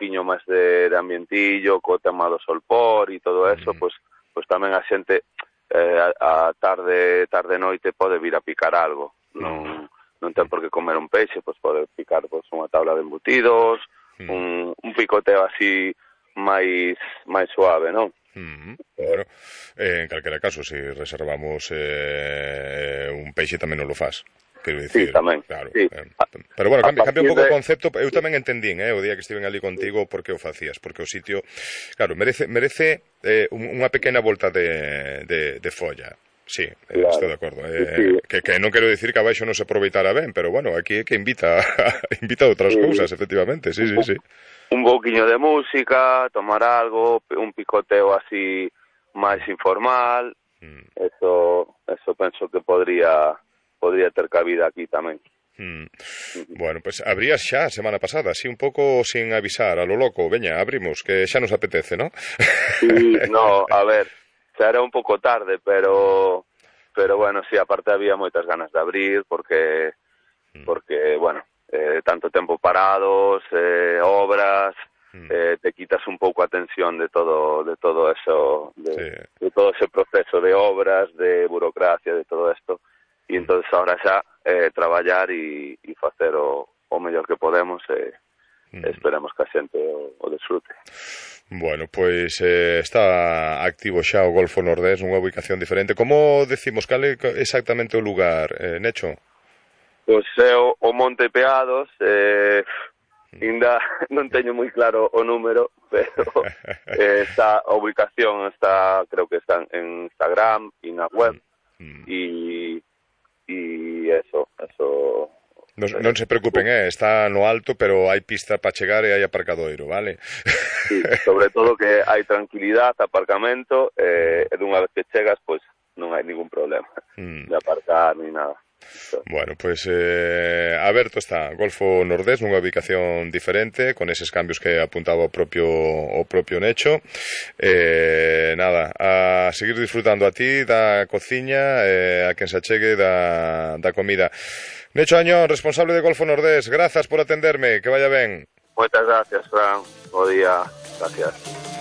tempiño máis de ambientillo, co tema do solpor e todo eso, pois tamén a xente a tarde noite pode vir a picar algo. Non ten por que comer un peixe, pois pode picar pois unha tabla de embutidos, un picoteo así máis suave, non? Bueno, en calquera caso, se reservamos un peixe tamén non lo faz. Quero dicir, sí, tamén, claro, sí. Pero bueno, cambia un pouco o concepto. Eu tamén entendín, o día que estiven ali contigo, por que o facías, porque o sitio, claro, merece unha pequena volta de folla. Sí, claro. Estou de acordo. Sí. Que non quero dicir que abaixo non se aproveitara ben, pero bueno, aquí é que invita a outras cousas, efectivamente, sí. Un pouquiño de música, tomar algo, un picoteo así máis informal, eso penso que podría ter cabida aquí tamén. Bueno, pues abrías xa a semana pasada, así un pouco sin avisar, a lo loco, veña, abrimos, que xa nos apetece, ¿no? Sí, no, a ver, xa era un pouco tarde, pero bueno, sí, aparte había moitas ganas de abrir, porque bueno, tanto tempo parados, obras, te quitas un pouco a tensión de todo eso, de todo ese proceso de obras, de burocracia, de todo esto. E entonces ahora xa traballar e facer o mellor que podemos, esperemos que a xente o desfrute. Bueno, pois está activo xa o Golfo Nordés, unha ubicación diferente. Como decimos, cal é exactamente o lugar, Necho? Pois é o Monte Peados, ainda non teño moi claro o número, pero a ubicación creo que está en Instagram e na web, e eso. Non se preocupen, está no alto, pero hai pista para chegar e hai aparcadoiro, vale? Sí, sobre todo que hai tranquilidade, aparcamento, e dunha vez que chegas, pois non hai ningún problema de aparcar ni nada. Bueno, pues aberto está Golfo Nordés nunha ubicación diferente, con eses cambios que apuntaba o propio Necho. Nada, a seguir disfrutando a ti da cociña, a quen se achegue da comida. Necho Añón, responsable de Golfo Nordés, grazas por atenderme, que vaya ben. Moitas gracias, Fran, bo día, gracias.